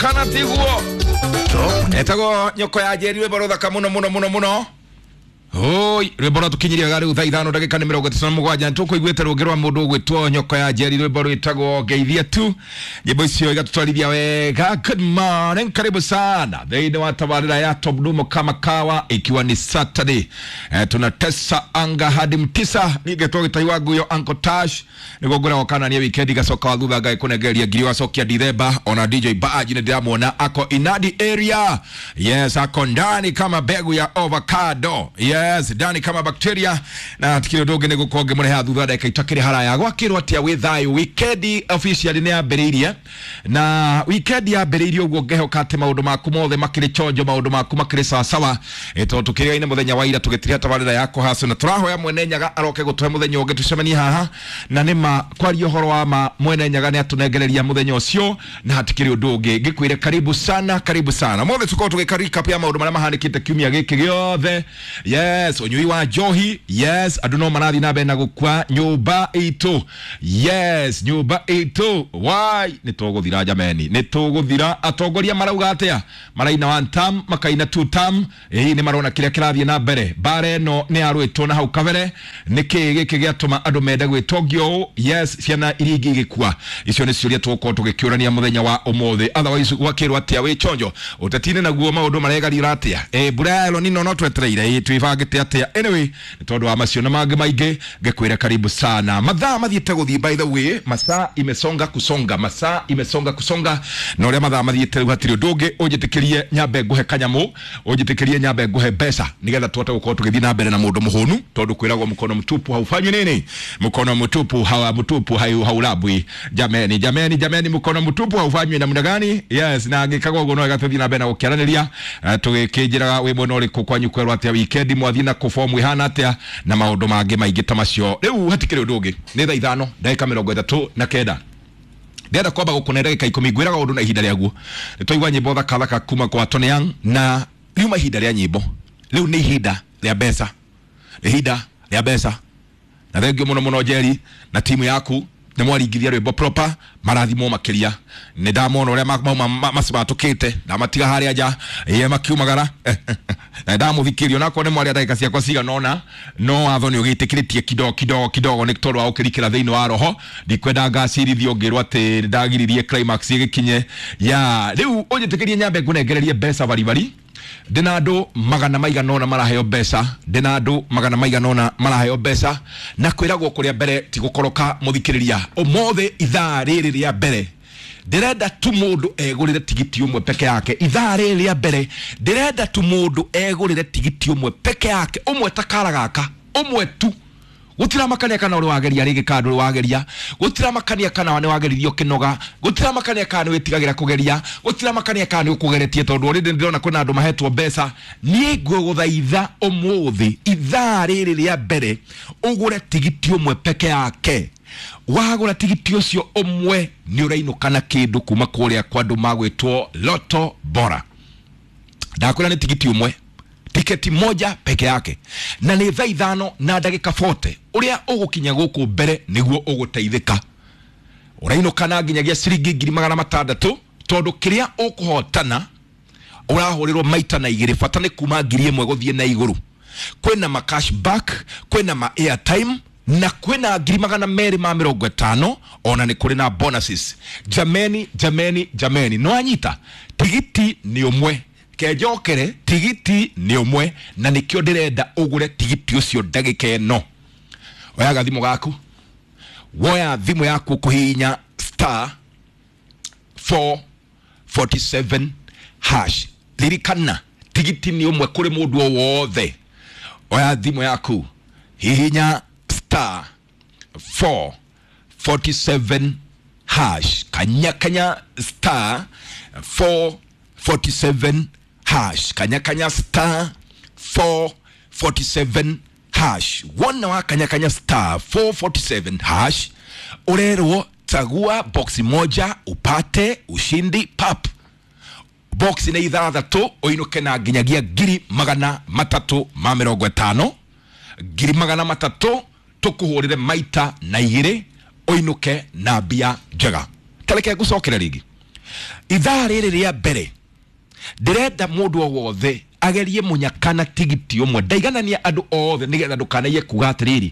Kana tiguo etagwo nyoko ya Njeri, rwĩmbo rũthaka mũno mũno mũno mũno. Oi, rwĩmbo rwatũkinyirie wega rĩu thaa 5 ndagĩka nĩ 37. Tũkũiguĩte rũngĩ rwa mũndũ ũgwĩtwo nyoko ya Njeri, rwĩmbo rwĩtagwo ngeithia tu. Nyĩmbo icio igatũtwarithia wega. Good morning, karibu sana thĩinĩ wa tabarĩra ya Top Dumo kama kawa, ikiwa ni Saturday. Tunatesa anga hadi mtisa. Nigetwo gĩtai wa nguyo Uncle Tash nĩguo ngũragwo kana nĩ weekend gacoka wa thutha ngai kũnengereria ngiri wacokia Dithemba. Ona DJ Baji nĩ ndĩramuona ako inadi area. Yes, ako ndani kama mbegu ya avocado. Yes, ndani kama bacteria. Na tikiri ũndũ ũngĩ nĩ gũkorwo ngĩmũreha thutha ndagĩka itakĩrĩ haraya. Gwakĩrwo atĩa wĩ thayũ? Weekend officially nĩ yambĩrĩirie, na weekend yambĩrĩirie ũguo ngehoka atĩ maũndũ maku mothe makĩrĩ chonjo, maũndũ maku makĩrĩ sawasawa. Tondũ tũkĩrĩgaine mũthenya wa ira tũgĩtiria tabarĩra ya kũhacu, na tũrahoya mwene Nyaga aroke gũtũhe mũthenya ũngĩ tũcemanie haha. Na nĩma kwaria ũhoro wa ma, mwene Nyaga nĩ atũnengereria mũthenya ũcio, na hatikĩrĩ ũndũ ũngĩ ngĩkwĩre karibu sana, karibu sana mothe. Tũkorwo tũgĩka recap ya maũndũ marĩa mahanĩkĩte kiumia gĩkĩ gĩothe. Yes, ũnyui wa njohi. Yes, andũ no marathiĩ na mbere na gũkua nyũmba itũ. Yes, nyũmba itũ wai nĩ tũgũthira jameni, nĩ tũgũthira. Atongoria marauga atĩa? Maraina one term, makaina two term. Ĩĩ, nĩ marona kĩrĩa kĩrathiĩ na mbere. Mbara ĩno nĩ yarũĩtwo na hau kabere. Nĩ kĩĩ gĩkĩ gĩatũma andũ mende gwĩtongia ũũ? Yes, ciana iria ingĩ igĩkua. Icio nĩ ciũria tũgũkorwo tũgĩkĩũrania mũthenya wa ũmũthĩ. Otherwise gwakĩrwo atĩa wĩ chonjo ũteti-inĩ? Naguo maũndũ maregarira atĩa? Mbura ya El Nino no twetereire. Ĩ twĩbangĩte atĩa? Anyway, nĩ tondũ wa macio na mangĩ maingĩ ngĩkwĩra karibu sana. Mathaa mathiĩte gũthiĩ, by the way, masaa imesonga kusonga, masaa imesonga kusonga. Na ũrĩa mathaa mathiĩte rĩu hatirĩ ũndũ ũngĩ, ũnjĩtĩkĩrie nyambe ngũhe kanyamũ, ũnjĩtĩkĩrie nyambe ngũhe mbeca nĩgetha tũhote gũkorwo tũgĩthiĩ na mbere na mũndũ mũhũnu, tondũ kwĩragwo mkono mtupu haufanywi nini, mkono mtupu hawa mtupu hayu haulabwi. Jameni, jameni, jameni, mkono mtupu haufanywi namna gani? Yes, na angĩkagwo ũguo no wega tũthiĩ na mbere na gũkĩaranĩria, tũgĩkĩnjĩraga wĩ mwena ũrĩkũ, kwanyu kwerwo atĩa, weekend mwathiĩ na kũbomu ĩhana atĩa, na maũndũ mangĩ maingĩ ta macio. Rĩu hatikĩrĩ ũndũ ũngĩ, nĩ thaa 5 ndagĩka 39. Ndĩrenda kwamba gũkũne ndagĩka 10. Ngwĩraga ũndũ na ihinda rĩaguo. Nĩ twaigua nyĩmbo thaka thaka kuma kwa Tony Young, na riuma ihinda rĩa nyĩmbo, rĩu nĩ ihinda rĩa mbeca, nĩ ihinda rĩa mbeca. Na thengio mũno mũno Njeri na timu yaku, nĩ mwaringithia rwĩmbo proper. Marathimwo makĩria. Nĩ ndamona ũrĩa mauma macimatũkĩte, ndamatiga harĩa nja ĩĩ makiumagara, na ndamũthikĩrio nakorwo nĩ mwaria ndagĩka ciakwa cigana ũna, no watho nĩ ũgĩtĩkĩrĩtie kidogo kidogo kidogo, nĩ tondũ wa gũkĩrikĩra thĩinĩ wa roho. Ndikwenda ngacirithio ngĩrwo atĩ ndagiririe climax ĩgĩkinye ya rĩu. Ũnjĩtĩkĩrie nyambe ngũnengererie mbeca baribari. Ndĩna andũ magana maigana ũna maraheo mbeca, ndĩna andũ magana maigana ũna maraheo mbeca, na kwĩragwo kũrĩa mbere ti gũkoroka. Mũthikĩrĩria, ũmũthĩ ithaa rĩrĩ rĩa mbere ndĩrenda tu mũndũ egũrĩre tigiti ũmwe peke yake. Ithaa rĩrĩ rĩa mbere ndĩrenda tu mũndũ egũrĩre tigiti ũmwe peke yake, ũmwe ta kara gaka, ũmwe tu. Gũtiramakania kana ũrĩ wageria rĩngĩ kana ndũrĩ wageria, gũtiramakania kana nĩ wageririe ũkĩnoga, gũtiramakania kana nĩ wĩtigagĩra kũgeria, gũtiramakania kana nĩ ũkũgeretie, tondũ already ndĩrona kwĩna andũ mahetwo mbeca. Niĩ ngũgũthaitha ũmũthĩ ithaa rĩrĩ rĩa mbere ũgũre tigiti ũmwe peke yake. Wagũra tigiti ũcio ũmwe nĩ ũrainũka na kĩndũ kuma kũrĩa kwa andũ magwĩtwo Lotto Bora. Ndakwĩra nĩ tigiti ũmwe, tiketi moja peke yake, na nĩ thaa 5 na ndagĩka 40. Ũrĩa ũgũkinya gũkũ mbere nĩguo ũgũteithĩka. Ũrainũka na nginyagia ciringi 600,000, tondũ kĩrĩa ũkũhotana ũrahũrĩrwo maita na igĩrĩ. Bata nĩ kuma 1,000 gũthiĩ na igũrũ. Kwĩna ma cashback, kwĩna ma airtime, na kwĩna 250,000. Ona nĩ kũrĩ na bonuses. Jameni, jameni, jameni, no anyita tigiti nĩ ũmwe. Kenjokere, tigiti nĩ ũmwe, na nĩkĩo ndĩrenda ũgũre tigiti ũcio ndagĩka ĩno. Oyaga thimũ gaku, woya thimũ yaku, kũhihinya star 447 hash. Ririkana tigiti nĩ ũmwe kũrĩ mũndũ o wothe. Oya thimũ yaku, hihinya star 447 hash, kanya kanya star 447 hash, kanya kanya star 447 hash. Wona wa kanya kanya star 447 hash, urerwo chagua boxi moja upate ushindi pap. Box nĩ ithathatũ, ũinũke na nginyagia 350,000. 300,000 tũkũhũrĩre maita na igĩrĩ, ũinũke na mbia njega. Tareke ngũcokere rĩngĩ. Ithaa rĩrĩ rĩa mbere ndĩrenda mũndũ o wothe agerie mũnyaka na tigiti ũmwe. Ndaiganania andũ othe nĩgetha ndũkanaiye kuga atĩrĩrĩ,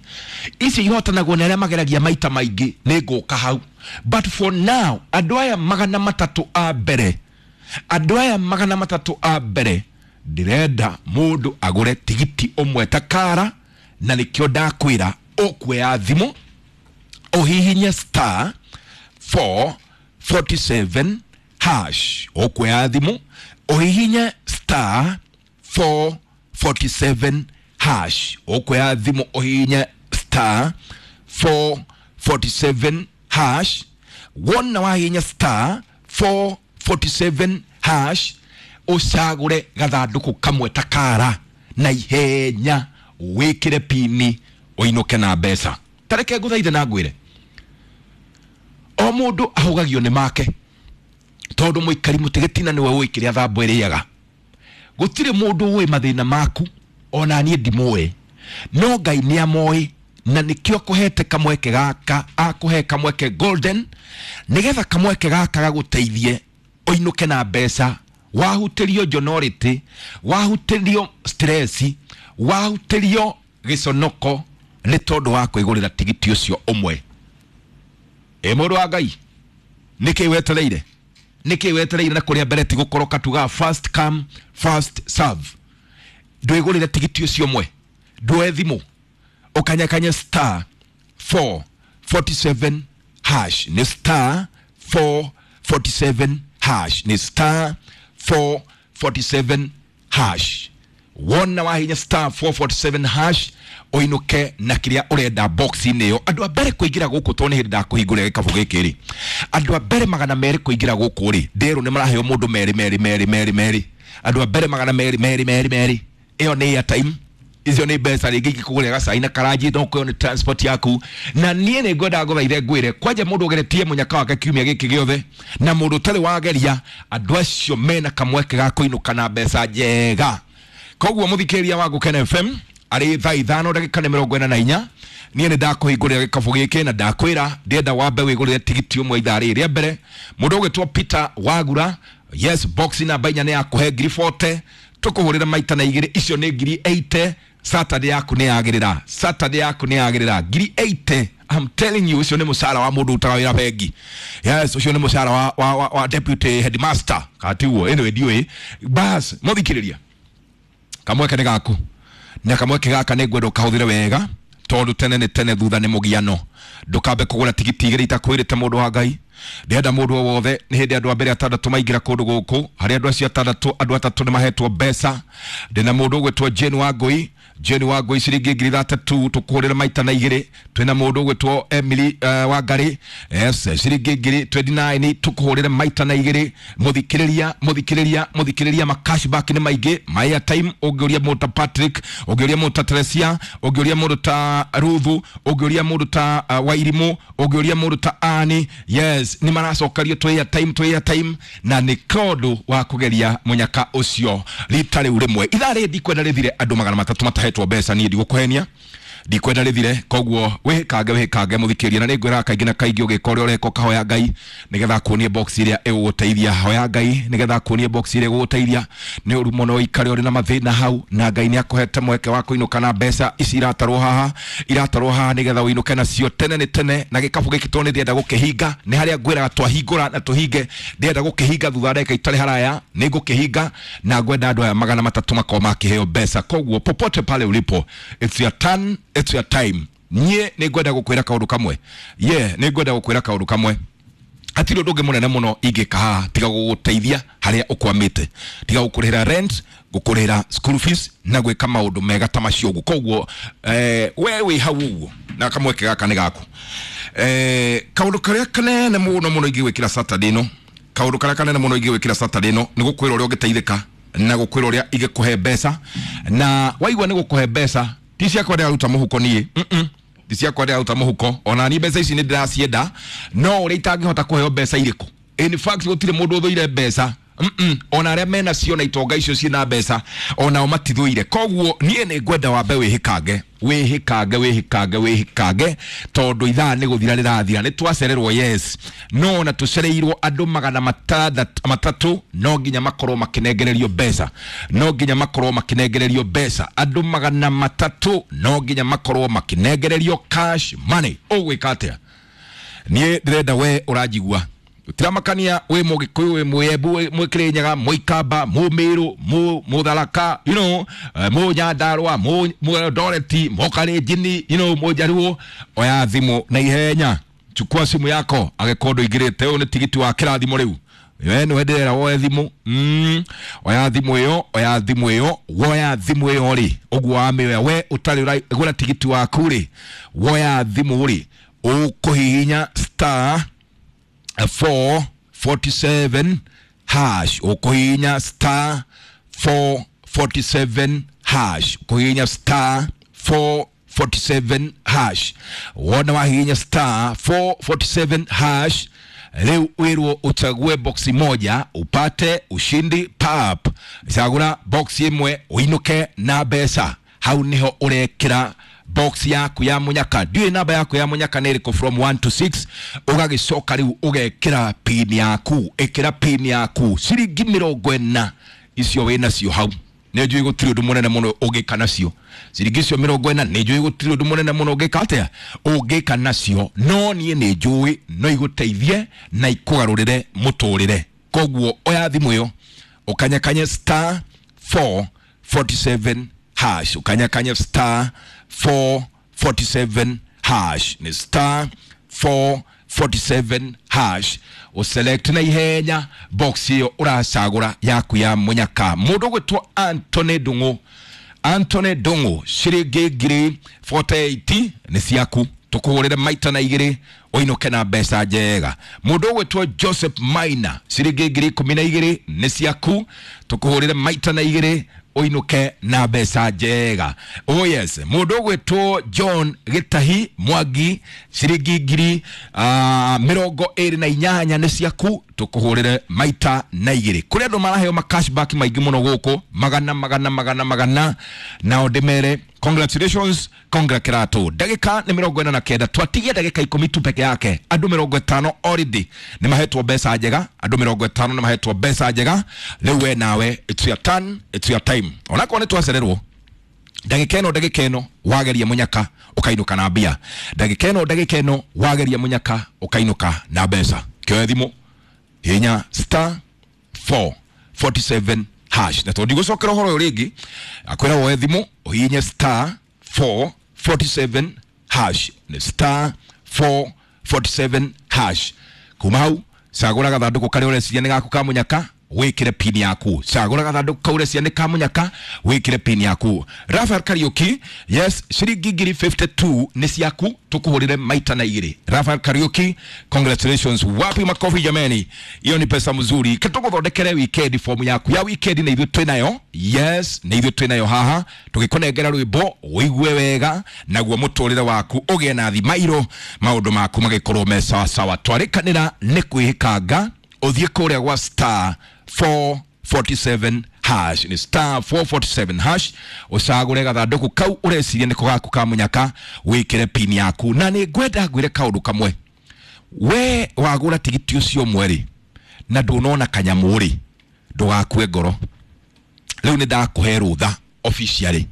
ici ihotanagwo nĩ arĩa mageragia maita maingĩ, nĩ ngũka hau. But for now andũ aya 300 a mbere, andũ aya 300 a mbere ndĩrenda mũndũ agũre tigiti ũmwe ta kara, na nĩkĩo ndakwĩra ũkuoya thimũ ũhihinye star 447 hash. Ũkuoya thimũ ũhihinye star 447 hash. Ũkuoya thimũ ũhihinye star 447 hash. Wona wahihinya star 447 hash, ũcagũre gathandũkũ kamwe ta kara na ihenya, wĩkĩre pini ũinũke na mbeca. Tareke ngũthaithe na ngwĩre, o mũndũ ahũgagio nĩ make, tondũ mũikari mũtĩ gĩtina nĩwe ũĩ kĩrĩa thambo ĩrĩaga. Gũtirĩ mũndũ ũĩ mathĩna maku, ona niĩ ndimũĩ, no Ngai nĩ amoĩ, na nĩkĩo akũhete kamweke gaka, akũhe kamweke golden, nĩgetha kamweke gaka gagũteithie ũinũke na mbeca. Wahutĩrio njonorĩtĩ, wahutĩrio stress, wahutĩrio gĩconoko nĩ tondũ wa kwĩgũrĩra tigiti ũcio ũmwe. Ĩ mũndũ wa Ngai, nĩkĩ wetereire? Nĩkĩ wetereire? Na kũrĩa mbere ti gũkoroka, tugaga first come first serve. Ndwĩgũrĩre tigiti ũcio ũmwe, ndwoe thimũ ũkanyakanye star 447 hash. Nĩ star 447 hash, nĩ star 447 hash. Wona wahinya star 447 hash ũinũke na kĩrĩa ũrenda box-inĩ ĩyo. Andũ a mbere kũingĩra gũkũ, tondũ nĩ hĩndĩ ndakũhingũrĩra gĩkabũ gĩkĩ rĩ, andũ a mbere 200 kũingĩra gũkũ rĩ, nderwo nĩ maraheo mũndũ merĩ merĩ merĩ merĩ merĩ. Andũ a mbere 200 merĩ merĩ merĩ, ĩyo nĩ airtime, icio nĩ mbeca rĩngĩ ingĩkũgũrĩra gacai na karanji, no kũyo nĩ transport yaku. Na niĩ nĩ ngwenda ngũthaithe ngwĩre, kwanja mũndũ ũgeretie mũnyaka wake kiumia gĩkĩ gĩothe na mũndũ ũtarĩ wageria, andũ acio mena kamweke ga kũinũka na mbeca njega. Koguo mũthikĩrĩria wa Gũkena FM, arĩ thaa 5 ndagĩka nĩ 44, niĩ nĩ ndakũhingũrĩra gĩkabũ gĩkĩ na ndakwĩra ndĩrenda wambe wĩgũrĩre tigiti ũmwe ithaa rĩrĩ rĩa mbere. Mũndũ ũgwĩtwo Peter Wagura, yes, box namba 4 nĩ yakũhe ngiri 40, tũkũhũrĩra maita na igĩrĩ, icio nĩ ngiri 80. Saturday yaku nĩ yagĩrĩra, Saturday yaku nĩ yagĩrĩra ngiri 80. I'm telling you, ũcio nĩ mũcara wa mũndũ ũrutaga wĩra bengi. Yes, ũcio nĩ mũcara wa deputy headmaster katiguo. Anyway, ndiũĩ bas. Mũthikĩrĩria, kamweke nĩ gaku, na kamweke gaka nĩ ngwenda ũkahũthĩre wega, tondũ tene nĩ tene, thutha nĩ mũgiano. Ndũkambe kũgũra tigiti igĩrĩ itakwĩrĩte. Mũndũ wa Ngai, ndĩrenda mũndũ o wothe, nĩ hĩndĩ andũ a mbere atandatũ maingĩra kũndũ gũkũ. Harĩ andũ acio atandatũ, andũ atatũ nĩ mahetwo mbeca. Ndĩna mũndũ ũgwĩtwo Jane Wangũi, Jane Wangũi ciringi ngiri 30, tũkũhũrĩra maita na igĩrĩ. Twĩna mũndũ ũgwĩtwo Emily Wangari, yes, ciringi ngiri 29, tũkũhũrĩra maita na igĩrĩ. Mũthikĩrĩria, mũthikĩrĩria, mũthikĩrĩria, ma cashback nĩ maingĩ, ma airtime. Ũngĩũria mũndũ ta Patrick, ũngĩũria mũndũ ta Teresia, ũngĩũria mũndũ ta Ruthu, ũngĩũria mũndũ ta Wairimũ, ũngĩũria mũndũ ta Ani, yes, nĩ maracokario twĩ airtime, twĩ airtime, na nĩ tondũ wa kũgeria mũnyaka ũcio rita rĩu rĩmwe. Ithaa rĩrĩ ndikwenda rĩthire andũ 300 matahetwo mbeca. Niĩ ndigũkũhenia, ndikwenda rĩthire. Koguo wĩhĩkange, wĩhĩkange mũthikĩrĩria. Na nĩ ngwĩraga kaingĩ na kaingĩ, ũgĩka ũrĩa ũreka, ũkahoya Ngai nĩgetha akuonie box ĩrĩa ĩgũgũteithia. Hoya Ngai nĩgetha akuonie box ĩrĩa ĩgũgũteithia. Nĩ ũru mũno ũikare ũrĩ na mathĩna hau, na Ngai nĩ akũhete mweke wa kũinũka na mbeca ici iratarwo haha, iratarwo haha, nĩgetha ũinũke nacio. Tene nĩ tene. Na gĩkabũ gĩkĩ tondũ nĩ ndĩrenda gũkĩhinga, nĩ harĩa ngwĩraga twahingũra na tũhinge. Ndĩrenda gũkĩhinga thutha wa ndagĩka itarĩ haraya, nĩ ngũkĩhinga, na ngwenda andũ aya 300 makorwo makĩheo mbeca. Koguo popote pale ulipo, it's your turn, it's your time. Niĩ nĩ ngwenda gũkwĩra kaũndũ kamwe, ye nĩ ngwenda gũkwĩra kaũndũ kamwe. Hatirĩ ũndũ ũngĩ mũnene mũno ingĩka haha tiga gũgũteithia harĩa ũkwamĩte, tiga gũkũrĩhĩra rent, gũkũrĩhĩra school fees na gwĩka maũndũ mega ta macio ũguo. Koguo we wĩ hau ũguo na kamweke gaka nĩ gaku. Kaũndũ karĩa kanene mũno mũno ingĩgwĩkĩra Saturday ĩno, kaũndũ karĩa kanene mũno ingĩgwĩkĩra Saturday ĩno nĩ gũkwĩra ũrĩa ũngĩteithĩka na gũkwĩra ũrĩa ingĩkũhe mbeca. Na waigua nĩ gũkũhe mbeca, ti ciakwa ndĩraruta mũhuko niĩ, ti ciakwa ndĩraruta mũhuko. Ona niĩ mbeca ici nĩ ndĩracienda, no ũrĩa itangĩhota kũheo mbeca irĩkũ. In fact, gũtirĩ mũndũ ũthũire mbeca. Ona arĩa mena cio na itonga icio ciĩna mbeca, onao matithũire. Koguo niĩ nĩ ngwenda wambe wĩhĩkange. Wĩhĩkange, wĩhĩkange, wĩhĩkange, tondũ ithaa nĩ gũthira rĩrathira. Nĩ twacererwo, yes, no na tũcereirwo andũ magana matatũ no nginya makorwo makĩnengererio mbeca, no nginya makorwo makĩnengererio mbeca. Andũ 300 no nginya makorwo makĩnengererio cash money. Ũgwĩka atĩa? Niĩ ndĩrenda we ũranjigua tiramakania wĩ mũgĩkũyũ, wĩ mwĩembu, wĩ mwĩkĩrĩnyaga, mũikamba, mũmĩrũ, mũtharaka, you know, mũnyandarũa, mũeldoreti, mũkalenjini, you know, mũnjaruo. Oya thimũ na ihenya, chukua simu yako agĩkorwo ndũingĩrĩte. Ũyũ nĩ tigiti wa kĩrathimo rĩu, we nĩwe ndĩrera woe thimũ. Oya thimũ ĩyo, oya thimũ ĩyo, woya thimũ ĩyo rĩ, ũguo wamĩoya we ũtarĩ ũragũra tigiti waku rĩ, woya thimũ rĩ, ũkũhihinya star 447 hash, ũkũhihinya star 447 hash, ũkũhihinya star 447 hash. Wona wahihinya star 447 hash, rĩu wĩrwo ũchague boxi moja upate ushindi pap. Cagũra box ĩmwe ũinũke na mbeca. Hau nĩho ũrekĩra box yaku ya munyaka. Ndiũĩ namba yaku ya munyaka nĩ ĩrĩkũ from 1 to 6. Ũgagĩcoka rĩu ũgekĩra pin yaku, ĩkĩra pin yaku ciringi 40 icio wĩ nacio hau. Nĩ njũĩ gũtirĩ ũndũ mũnene mũno ũngĩka nacio ciringi icio 40. Nĩ njũĩ gũtirĩ ũndũ mũnene mũno ũngĩka atĩa, ũngĩka nacio, no niĩ nĩ njũĩ no igũteithie na ikũgarũrĩre mũtũrĩre. Koguo oya thimũ ĩyo ũkanyakanye star 447 hash, ukanyakanya star 447 hash, ni star 447 hash, uselect na ihenya box iyo uracagura yaku ya munyaka. Mundu gwitwo Anthony Ndung'u, Anthony Ndung'u, ciringi ngiri 48 nĩ ciaku, tukuhurire maita na igiri uinuke na mbeca njega. Mundu ugwitwo Joseph Maina, ciringi ngiri 12 nĩ ciaku, tukuhurire maita na igiri uinuke na mbeca njega. Oh yes, mundu ugwitwo John Gitahi Mwangi, ciringi ngiri 28 nĩ ciaku, tukuhurire maita na igiri. Kuri andu maraheo ma cashback maingi muno guku, magana magana magana magana, nao ndimere congratulations, congratulato. Ndagika nĩ 49, twatigia ndagika 10 tu peke yake. Andu 50 already nĩ mahetwo mbeca njega, andu 50 nĩ mahetwo mbeca njega. Rĩu we nawe, it's your turn, it's your time. Onakorwo nĩ twacererwo ndagika ĩno, ndagika ĩno wageria munyaka ũkainũka na mbia. Ndagika ĩno, ndagika ĩno wageria munyaka ũkainũka na mbeca. Kĩoe thimũ, hinya star 447 hash. Na tondũ ndigũcokera ũhoro ũyũ rĩngĩ, akwĩra woe thimũ ũhihinye star 447 hash, nĩ star 447 hash. Kuma hau cagũra gathandũkũ karĩa ũreciria nĩ gaku ka munyaka, wĩkĩre pin yaku. Cagũra gathandũkũ kau ũreciria nĩ ka munyaka, wĩkĩre pin yaku. Rafael Kariuki, yes, ciringi ngiri 52 nĩ ciaku, tukuhũrĩre maita na igĩrĩ. Rafael Kariuki, congratulations. Wapi makofi jameni? Hiyo ni pesa mzuri. Ketũgũthondekere weekend form yaku ya weekend, na ithuĩ twĩnayo. Yes, na ithuĩ twĩnayo haha, tũgĩkũnengera rwĩmbo ũigue wega, naguo mũtũrĩre waku ũgĩe na thimairũ, maũndũ maku magĩkorwo me sawa sawa. Twarĩkanĩra nĩ kwĩhĩkanga, ũthiĩ kũrĩa gwa star 447 hash, ni star 447 hash, ucagure gathandũkũ kau ũreciria nĩko gaku ka munyaka, wĩkĩre pin yaku. Na nĩ ngwenda ngwĩre kaũndũ kamwe, we wagũra tigiti ũcio ũmwe rĩ, na ndũnona kanyamũ rĩ, ndũgakue ngoro. Rĩu nĩ ndakũhe rũtha officially,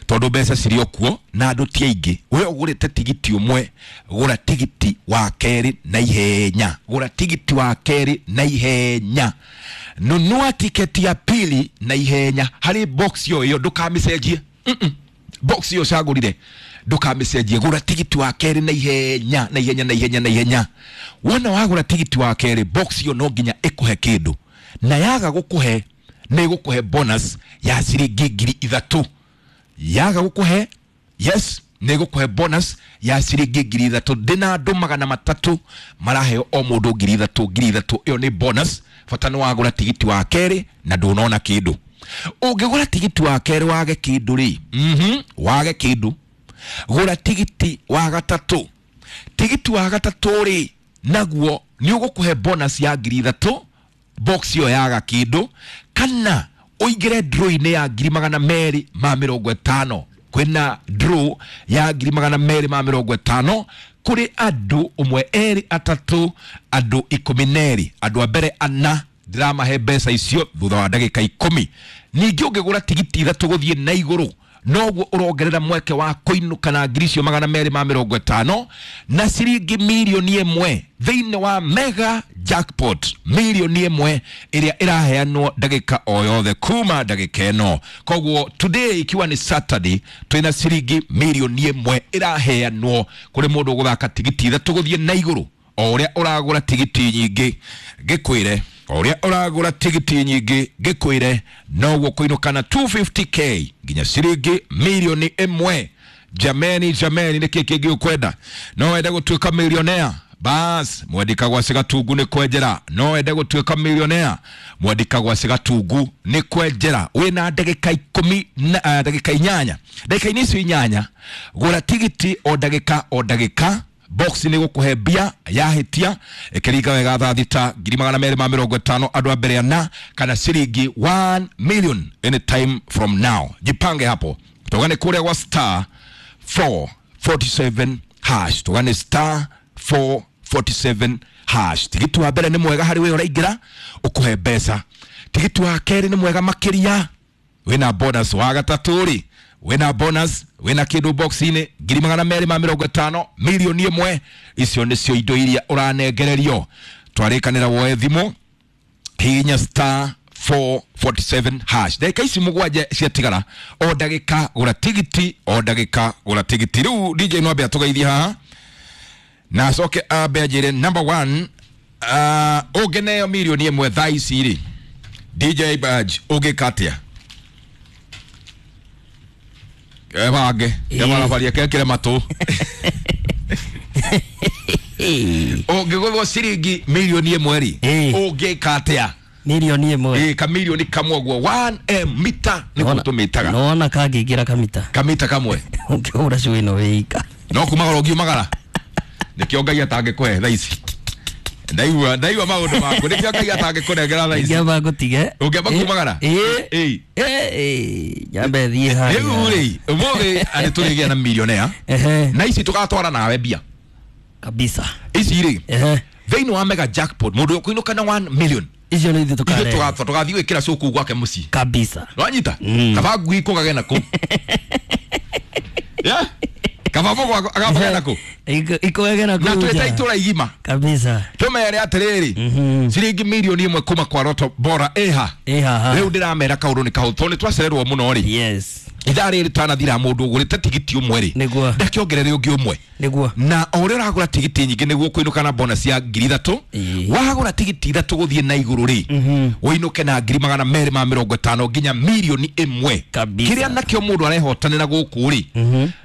tondũ mbeca cirĩ o kuo na andũ ti aingĩ. We ũgũrĩte tigiti ũmwe, gũra tigiti wa kerĩ na ihenya, gũra tigiti wa kerĩ na ihenya, nunua tiketi ya pili na ihenya. Harĩ box ĩyo ĩyo ndũkamĩcenjie. Box ĩyo ũcagũrire ndũkamĩcenjie, gũra tigiti wa kerĩ na ihenya, na ihenya, na ihenya, na ihenya. Wona wagũra tigiti wa kerĩ, box ĩyo no nginya ĩkũhe kĩndũ, na yaga gũkũhe nĩ ĩgũkũhe bonus ya ciringi ngiri ithatũ. Yaga gũkũhe, yes, nĩ ĩgũkũhe bonus ya ciringi ngiri ithatũ. Ndĩna andũ 300 maraheo o mũndũ ngiri ithatũ, ngiri ithatũ. Ĩyo nĩ bonus. Bata nĩ wagũra tigiti wa kerĩ na ndũnona kĩndũ. Ũngĩgũra tigiti wa kerĩ wage kĩndũ rĩ, wage kĩndũ, gũra tigiti wa gatatũ. Tigiti wa gatatũ rĩ, naguo nĩ ũgũkũhe bonus ya ngiri ithatũ, box ĩyo yaga kĩndũ, kana ũingĩre draw-inĩ ya ngiri 250. Kwĩna draw ya 250,000 kũrĩ andũ ũmwe, erĩ, atatũ, andũ 12. Andũ a mbere ana ndĩramahe mbeca icio thutha wa ndagĩka 10. Ningĩ ũngĩgũra tigiti 3 gũthiĩ na igũrũ, noguo ũrongerera mweke wa kũinũka na ngiri icio 250 na ciringi 1 mirioni thĩinĩ wa mega jackpot, 1 mirioni ĩrĩa ĩraheanwo ndagĩka o yothe kuma ndagĩka ĩno. Koguo today, ikiwa ni Saturday, twĩna ciringi 1 mirioni ĩraheanwo kũrĩ mũndũ ũgũthaka tigiti 3 gũthiĩ na igũrũ. O ũrĩa ũragũra tigiti nyingĩ, ngĩkwĩre, o ũrĩa ũragũra tigiti nyingĩ, ngĩkwĩre, noguo kũinũka na 250K nginya ciringi 1 mirioni. Jameni, jameni, nĩkĩ kĩngĩ ũkwenda? No wende gũtuĩka millionaire? Bas, mwendika gwa cigatungu nĩ kwenjera. No wende gũtuĩka millionaire? Mwendika gwa cigatungu nĩ kwenjera. Wĩna ndagĩka 10 na ndagĩka 8. Ndagĩka-inĩ icio 8, gũra tigiti o ndagĩka o ndagĩka. Box nĩ gũkũhe mbia yahĩtia ĩkĩringa wega thaa 6, 250,000 andũ a mbere ana, kana ciringi 1 million anytime from now. Jipange hapo, tugane kũrĩa gwa star 447 hash, tugane star 447 hash. Tigiti wa mbere nĩ mwega harĩ we ũraingĩra, ũkũhe mbeca. Tigiti wa kerĩ nĩ mwega makĩria, wĩna bonus. Wa gatatũ rĩ, wĩna bonus, wĩna kĩndũ box-inĩ, 250,000, 1 mirioni. Icio nĩcio indo iria ũranengererio. Twarĩkanĩra woe thimũ, hihinya star 447 hash. Ndagĩka ici 7 ciatigara, o ndagĩka gũra tigiti, o ndagĩka gũra tigiti. Rĩu DJ no ambe atũgeithie haha na acoke ambe anjĩre number one, ũngĩneo 1 mirioni thaa ici rĩ, DJ Badge, ũngĩka atĩa? Ebange ebarabaria kekĩre matũ. Ũngĩgũthwo ciringi 1 mirioni rĩ, ũngĩka atĩa? 1 mirioni. Ĩ, kamirioni kamwe ũguo, 1M, mita nĩguo tũmĩtaga. Nona kangĩingĩra kamita. Kamita kamwe. Ũngĩhũra cui ĩno wĩika. No kumagara ũngiumagara, nĩkĩo Ngai atangĩkũhe thaa ici. Ndaigua, ndaigua maũndũ maku, nĩkĩo Ngai atangĩkũnengera thaa ici. Ingĩamba ngũtige. Ũngĩamba kumagara. Ĩ. Ĩ. Nyambe thiĩ harĩa. Rĩu rĩ, ũmũthĩ arĩ tũrĩgĩa na millionaire na ici tũgatwara nawe mbia Kabisa. Ici rĩ, thĩinĩ wa mega jackpot, mũndũ ũkũinũka na 1 million, Icio nĩ ithuĩ ithuĩ tũkarehe. Tũgathiĩ gwĩkĩra cũkũ gwake mũciĩ. Kabisa. Nwanyita kaba ngui kũgage na kũ. Yeah? Kaba mũgũ agabage na kũ. Ikũgage na na kũu twĩta nja. itũra igima Kabisa. tũmere atĩrĩrĩ, ciringi 1 mirioni kuma kwa Roto Bora ĩha. Ĩ haha. Rĩu ndĩramera kaũndũ nĩ kahũthũ tondũ nĩ twacererwo mũno rĩ. Ithaa rĩrĩ tanathira, mũndũ ũgũrĩte tigiti ũmwe rĩ, ndakĩongerere ũngĩ ũmwe. Na o ũrĩa ũragũra tigiti nyingĩ, nĩguo kũinũka na bonus ya 3,000. Wagũra tigiti 3 gũthiĩ na igũrũ rĩ, ũinũke na 250,000 nginya 1 mirioni. Kabisa. Kĩrĩa nakĩo mũndũ arehotanĩra gũkũ rĩ,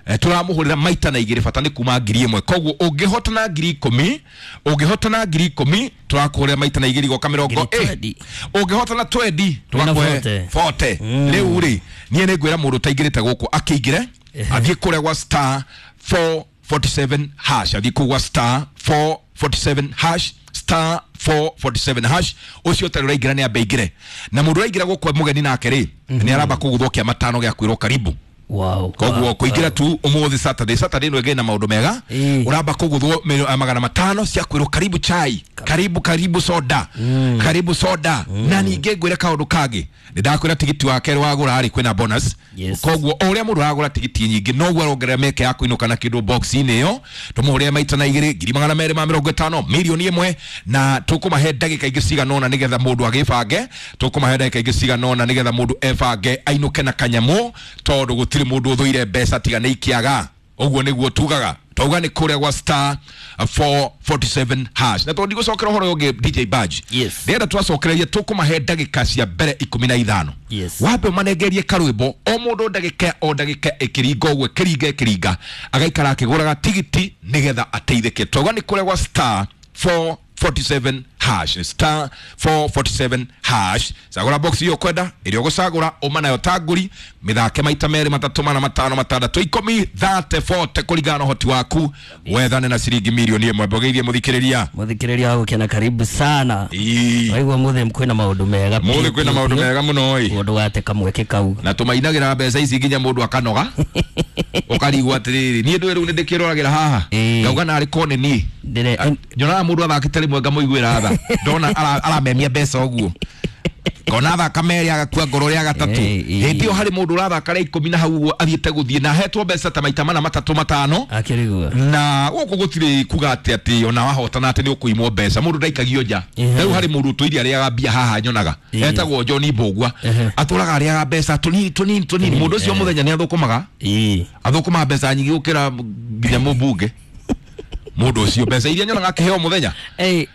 tũramũhũrĩra maita na igĩrĩ, bata nĩ kuma 1,000. Koguo ũngĩhotana 10,000, ũngĩhotana 10,000, tũrakũhũrĩra maita na igĩrĩ, igoka mĩrongo Ngiri ĩ. 20. Ũngĩhotana 20, Wĩna tũgakũhe 40. 40. Rĩu rĩ, niĩ nĩ ngwĩra mũndũ ũtaingĩrĩte gũkũ akĩingĩre, athiĩ kũrĩa gwa star 447 hash, athiĩ kũu gwa star 447 hash, star 447 hash. Ũcio ũtarĩ ũraingĩra nĩ ambe aingĩre, na mũndũ ũraingĩra gũkũ e mũgeni nake rĩ, nĩ aramba kũguthwo kĩa matano gĩa kwĩrwo karibu. Koguo kũingĩra tu ũmũthĩ Saturday, Saturday ĩno ĩngĩ na maũndũ mega, ũramba kũguthwo 500 cia kwĩrwo karibu chai, karibu, karibu soda, karibu soda. Na ningĩ ngwĩre kaũndũ kangĩ, nĩ ndakwĩra tigiti wa kerĩ wagũra rĩ, kwĩna bonus. Koguo o ũrĩa mũndũ aragũra tigiti nyingĩ, noguo arongerera mĩeke ya kũinũka na kĩndũ box-inĩ ĩyo. Tũmũhũrĩre maita na igĩrĩ, 250,000, 1 mirioni. Na tũkũmahe ndagĩka ingĩ cigana ũna nĩgetha mũndũ agĩbange. Tũkũmahe ndagĩka ingĩ cigana ũna nĩgetha mũndũ ebange ainũke na kanyamũ, tondũ gũtirĩ mũndũ ũthũire mbeca tiga nĩ ikĩaga. Ũguo nĩguo tugaga. Twauga nĩ kũrĩa gwa star 447 hash. Na tondũ ndigũcokera ũhoro ũyũ ũngĩ, DJ Badge, ndĩrenda twacokererie, tũkũmahe ndagĩka cia mbere 15. Wambe ũmanengerie karwĩmbo, o mũndũ ndagĩka o ndagĩka ĩkĩringa ũguo, ĩkĩringa ĩkĩringa, agaikara akĩgũraga tigiti nĩgetha ateithĩke. Twauga nĩ kũrĩa gwa star 447. hash star 447 hash. Cagũra box iyo kwenda ĩrĩa ũgũcagũra ũma nayo tangũri mĩthake maita 2 3 4 5 6 10 30 40 kũringana na ũhoti waku wethane na ciringi milioni 1. Mbogeithie mũthikĩrĩria. Mũthikĩrĩria wa gũkena karibu sana. Waigua mũthĩ kwĩna maũndũ mega. Mũthĩ kwĩna maũndũ mega mũno ĩ. Mũndũ wate kamweke kau. Na tũmainagĩra mbeca ici nginya mũndũ akanoga. Ũkarigwo atĩrĩrĩ niĩ ndũĩ rĩu nĩ ndĩkĩroragĩra haha. Ngauga narĩ korwo nĩ niĩ. Nyonaga mũndũ athakĩte rĩmwe ngamũiguĩra tha. Ndona aramemia mbeca ũguo. Kona athaka merĩ agakua ngoro rĩa gatatũ. Hĩndĩ ĩyo harĩ mũndũ ũrathaka rĩa 10 na hau ũguo athiĩte gũthiĩ na ahetwo mbeca ta maita 4 3 5. Akĩrigwo. Na gũkũ gũtirĩ kuga atĩ atĩ ona wahotana atĩ nĩ ũkũimwo mbeca. Mũndũ ndaikagio nja. Rĩu harĩ mũndũ ũtũire arĩaga mbia haha nyonaga. Etagwo John Mbũgua. Atũraga arĩaga mbeca tũnini tũnini tũnini. Mũndũ ũcio mũthenya nĩ athũkũmaga. Athũkũmaga mbeca nyingĩ gũkĩra nginya mũmbunge. Mũndũ ũcio mbeca iria nyonaga akĩheo mũthenya. Ai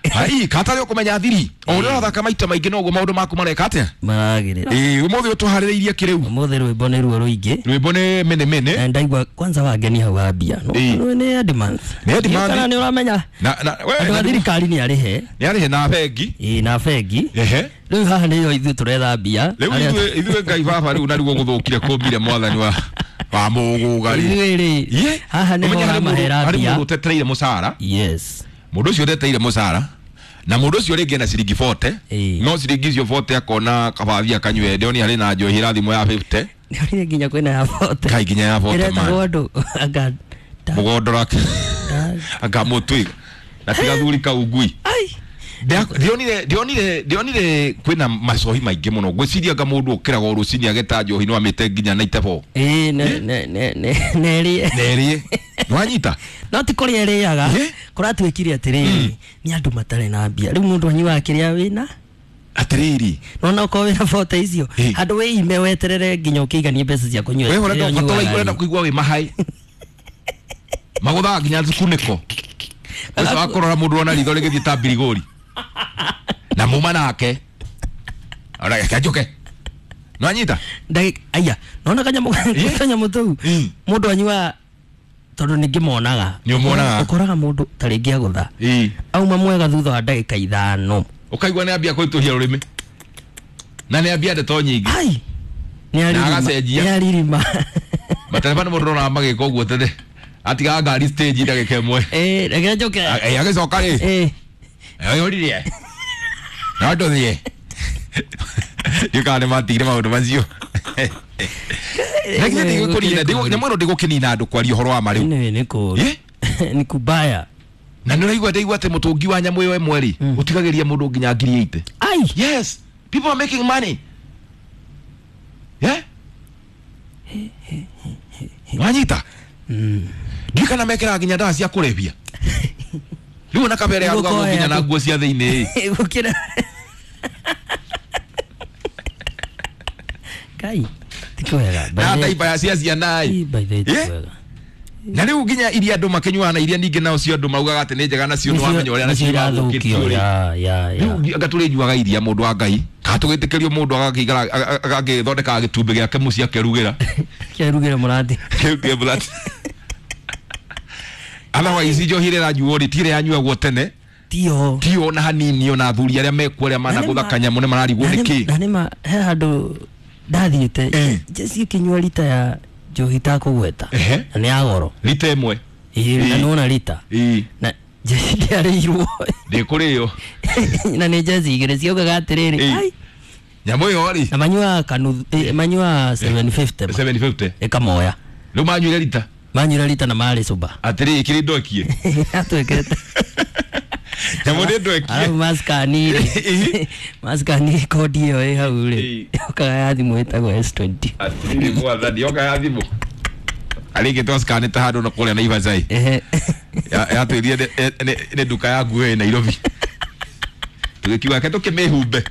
katarĩ ũkũmenya thiri. O ũrĩa ũrathaka maita maingĩ noguo maũndũ maku mareka atĩa? Maragĩrĩra. Ũmũthĩ ũtũharĩrĩirie kĩ rĩu? Ũmũthĩ rwĩmbo nĩ ruo rũingĩ. Rwĩmbo nĩ mene mene. Na ndaigua kwanza wangeni hau wambia. Nĩ end month. Nĩ end month. Kana nĩ ũramenya? Na we andũ a thirikari nĩ arĩhe. Nĩ arĩhe na bengi. Na bengi. Rĩu haha nĩyo ithuĩ tũretha mbia. Rĩu ithuĩ Ngai baba rĩu narĩguo gũthũkire kũmbire mwathani wa mũgũgari. Ithuĩ rĩ haha nĩho ũramahera mbia. Harĩ mũndũ ũtetereire mũcara. Yes. Mũndũ ũcio ũtetereire mũcara na mũndũ ũcio rĩngĩ ena ciringi 40 no ciringi icio 40 akona kabathi akanyue ndĩoni harĩ na njohi ĩra thimũ ya 50. Nĩonire nginya kwĩna ya 40. Kai nginya ya 40 man. Ĩretagwo andũ anga mũgondora anga mũtwiga na tiga thuri kau ngui. Ndionire kwĩna macohi maingĩ mũno ngwĩciria anga mũndũ ũkĩraga o rũcinĩ ageta njohi no amĩte nginya 94. Nerĩe. Nerĩe. Nĩwanyita? No ti kũrĩa ĩrĩaga. Kũratuĩkire atĩrĩrĩ nĩ andũ matarĩ na mbia. Rĩu mũndũ anyuaga kĩrĩa wĩna atĩrĩrĩ. Nona okorwo wĩna 40 icio handũ wĩime weterere nginya ũkĩiganie mbeca cia kũnyua. Wewe ũrenda kũigua wĩ mahai. Magũthaga nginya thukunĩko. Ũcio wa kũrora mũndũ ona ritho rĩgĩthiĩ ta mbirigũri. Na muma nake. Ora kanjuke. Nwanyita? Aya, nona kanyamũ tũu. Mũndũ anyua tondũ nĩngĩmonaga. Nĩũmonaga. Ũkoraga mũndũ ta rĩngĩ agũtha. Auma mwega thutha wa ndagĩka 5. Ũkaigua nĩ ambia kũritũhia rũrĩmĩ. Na nĩ ambia ndeto nyingĩ. Ai. Nĩ agacenjia. Nĩ aririma. Matereba nĩ mũndũ ũronaga magĩka ũguo tene. Atigaga ngari stage ndagĩka 1. Reke njoke. Agĩcoka rĩ. Oyoririe. No ndũthiĩ. Ndiũkaga nĩ matigire maũndũ macio. Lakini ndigũkũnina nyamũ ĩno ndĩgũkĩnina andũ kwaria ũhoro wa ma rĩu. Nĩ kũũru. Nĩ kubaya. Na nĩ ũraigua ndaigua atĩ mũtũngi wa nyamũ ĩyo ĩmwe rĩ ũtigagĩria mũndũ nginya 80,000. Ai. Yes, people are making money. Yeah? Wanyita? Ndiũĩ kana mekĩraga nginya ndawa cia kũrebia. Rĩu ona kabere arugagwo nginya na nguo cia thĩinĩ. Gũkĩra. Kai. Ti kwega. Na taiba ya cia ciana ĩ. By the way, ti kwega. Na rĩu nginya iria andũ makĩnyuaga na iria ningĩ nao cio andũ maugaga atĩ nĩ njega nacio nĩ wamenya ũrĩa nacio irathũkio rĩ. Rĩu anga tũrĩnyuaga iria mũndũ wa Ngai. Kana tũgĩtĩkĩrio mũndũ agakĩikara agagĩthondeka gĩtumbĩ gĩake mũciĩ akerugĩra. Kerugĩra mũrathi. Kerugĩra mũrathi. Otherwise njohi ĩrĩa ĩranyuo rĩ ti ĩrĩa yanyuagwo tene. Tio. Tio na hanini ona athuri arĩa mekuo arĩa managũtha kanyamũ nĩ mararigwo nĩ kĩ. Na nĩma he handũ ndathiĩte Jesse kĩnyua rita ya njohi itakũgweta. Na nĩ ya goro. Rita ĩmwe. Na nĩwona rita. Na Jesse ndĩarĩirwo. Ndĩkũrĩo. Na nĩ Jesse igĩrĩ ciaugaga atĩrĩrĩ. Ai. Nyamũ ĩyo rĩ. Na manyuaga kanuthu, manyuaga 750. 750. Ĩkamoya. Rĩu manyuire rita. Manyuire rita na marĩ sober. Atĩrĩ ĩkĩrĩ ndwekie. Atwĩkĩrĩte. Nyamũ nĩ ndwekie. Arabu maskani rĩ. Maskani kodi ĩyo ĩ hau rĩ. Yokaga ya thimũ ĩtagwo S20. Atĩrĩrĩ mwathani yoka ya thimũ. Arĩngĩ twaskanĩte handũ na kũrĩa Naivasha. Yatwĩrire nĩ nduka ya nguo ĩ Nairobi. Tũgĩkiuga reke tũkĩmĩhumbe.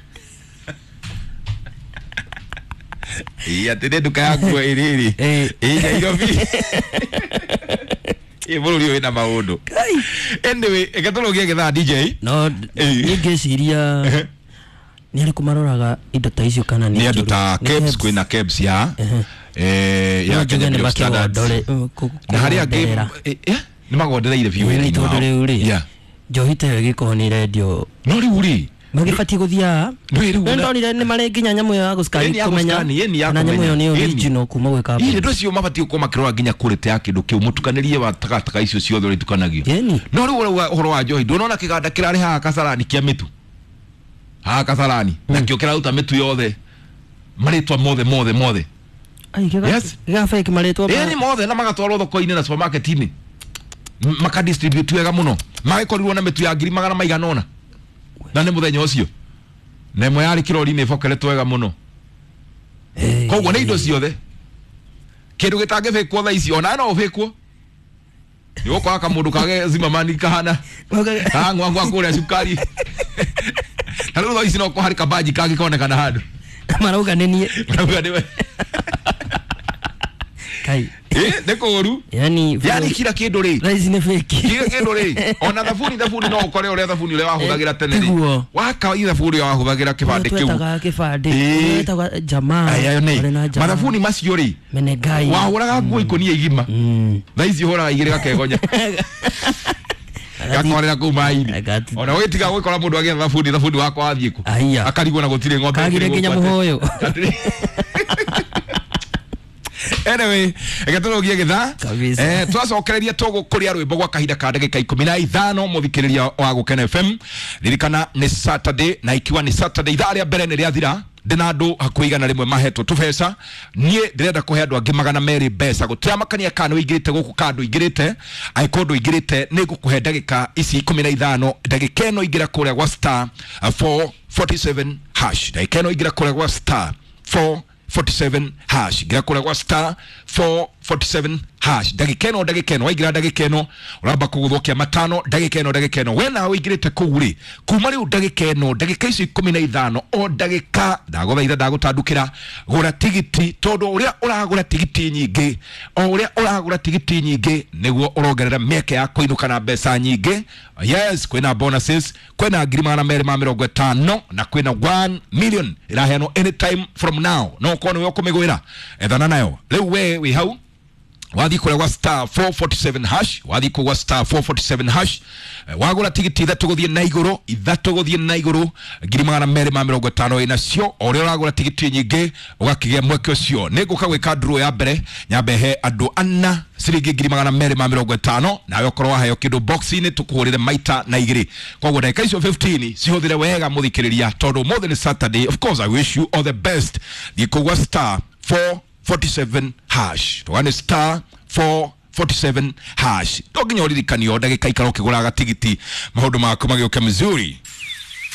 Atĩ nĩ nduka ya nguo ĩrĩrĩ. Ĩ Nairobi. Ĩ bũrũri ũyũ wĩna maũndũ. Anyway, reke tũrũgie gĩthaa DJ. No niĩ ngĩciria nĩ arĩkũ maroraga indo ta icio kana nĩ andũ ta KEBS, kwĩna KEBS ya ya Kenya Bureau of Standards. Na harĩa angĩ nĩ magondereire biũ wĩra-inĩ wao. Tondũ rĩu rĩ Njohi ta ĩyo ĩgĩkorwo nĩ ĩrendio. No rĩu rĩ magĩbatiĩ gũthiaga Ndũĩ rĩu nĩ ndonire nĩ marĩ nginya nyamũ ĩyo ya gũcukari Ĩni ya kũmenya gũscan, ĩni ya kana nyamũ ĩyo kũmenya. nĩ Ĩni. original kuma gwĩ Ĩ, kambuni. indo icio mabatiĩ gũkorwo makĩrora nginya quality ya kĩndũ kĩu mũtukanĩrie wa takataka icio ciothe ũrĩa itukanagio. Ĩni. No rĩu ũrauga ũhoro wa njohi, ndũnona kĩganda kĩrarĩ haha Kasarani kĩa mĩtu, haha Kasarani, nakĩo kĩraruta mĩtu yothe, marĩtwa mothe mothe mothe. Ai, Yes. gĩgabeki marĩtwa Ĩni mothe, na magatwarwo thoko-inĩ na supermarket-inĩ, makadistribute wega mũno, magĩkorirwo na mĩtu ya ngiri magana maigana ũna, na nĩ mũthenya ũcio na ĩmwe yarĩ kĩrori-inĩ ĩbokeretwo wega mũno. Koguo nĩ indo ciothe, kĩndũ gĩtangĩbĩkwo thaa ici ona no ũbĩkwo, nĩ ũgũkora kamũndũ kage zimamani kahana kang'wang'wa kũrĩa cukari, na rĩu thaa ici no harĩ kambanji kangĩkonekana handũ. Marauga nĩ niĩ. Marauga nĩwe. Kai. Nĩ kũũru. Yani Yani kila kĩndũ rĩ, thaa ici nĩ fake. Kila kĩndũ rĩ, ona thabuni, thabuni no ũkore ũrĩa thabuni ũrĩa wahũthagĩra tene rĩ, Tiguo. waka thabuni ũrĩa wahũthagĩra kĩbandĩ kĩu. Twetaga kĩbandĩ. Ĩĩ. Twetaga jamaa. Aya Marĩ nĩ na jamaa. mathabuni macio rĩ, Menegai. wahũraga nguo ikũnia igima, thaa ici ũhũraga igĩrĩ gakegonya, gakorera kũu maĩ-inĩ. Ona ũgĩtiga gwĩkora mũndũ agĩetha thabuni, thabuni wakwa wathiĩ kũ? Aya. Akarigwo na gũtirĩ ng'ombe Kagire ĩkĩrĩ nginya gũkũ atĩ. mũhũyũ. Anyway, reke tũrũgie gĩthaa. Kabisa. Twacokereria tũgũkũria rwĩmbo gwa kahinda ka ndagĩka 15. Mũthikĩrĩria wa Gũkena FM, ririkana nĩ Saturday, na ikiwa nĩ Saturday, ithaa rĩa mbere nĩ rĩathira, ndĩna andũ hakuhĩ 100 mahetwo tũbeca. Niĩ ndĩrenda kũhe andũ angĩ 200 mbeca, gũtiramakania kana ũingĩrĩte gũkũ kana ndũingĩrĩte. Angĩkorwo ndũingĩrĩte, nĩ ngũkũhe ndagĩka ici 15. Ndagĩka ĩno ingĩra kũrĩa gwa star 447 hash. Ndagĩka ĩno ingĩra kũrĩa gwa star 447 hash, ngira kũrĩa gwa star 447 hash. Ndagĩka ĩno, ndagĩka ĩno waingĩra, ndagĩka ĩno ũramba kũgũthũkia matano. Ndagĩka ĩno, ndagĩka ĩno we nawe ũingĩrĩte kũu rĩ, kuma rĩu ndagĩka ĩno, ndagĩka icio 15, o ndagĩka ndagũthaitha, ndagũtandukĩra, gũra tigiti, tondũ ũrĩa ũragũra tigiti nyingĩ, o ũrĩa ũragũra tigiti nyingĩ, nĩguo ũrongerera mĩeke ya kũinũka na mbeca nyingĩ. Yes, kwĩna bonuses, kwĩna ngiri 250, na kwĩna 1 million ĩraheanwo anytime from now. No ũkorwo nĩwe ũkũmĩgwĩra, ethana nayo rĩu. We wĩ hau, wathiĩ kũrĩa gwa star 447 hash, wathiĩ kũu gwa star 447 hash, wagũra tigiti ithatũ gũthiĩ na igũrũ, ithatũ gũthiĩ na igũrũ, ngiri 250 wĩ nacio. O ũrĩa ũragũra tigiti nyingĩ, ũgakĩgĩa mweke ũcio. Nĩ ngũka gwĩka draw ya mbere, nyambe he andũ ana ciringi ngiri 250, nawe ũkorwo waheo kĩndũ box-inĩ, tũkũhũrĩre maita na igĩrĩ. Koguo ndagĩka icio 15 cihũthĩre wega, mũthikĩrĩria, tondũ ũmũthĩ nĩ Saturday. Of course, I wish you all the best. Thiĩ kũu gwa star 447 hash, tũgane star 447 hash. To nginya ũririkanio, ndagĩka ikara ũkĩgũraga tigiti, maũndũ maku magĩũke mzuri.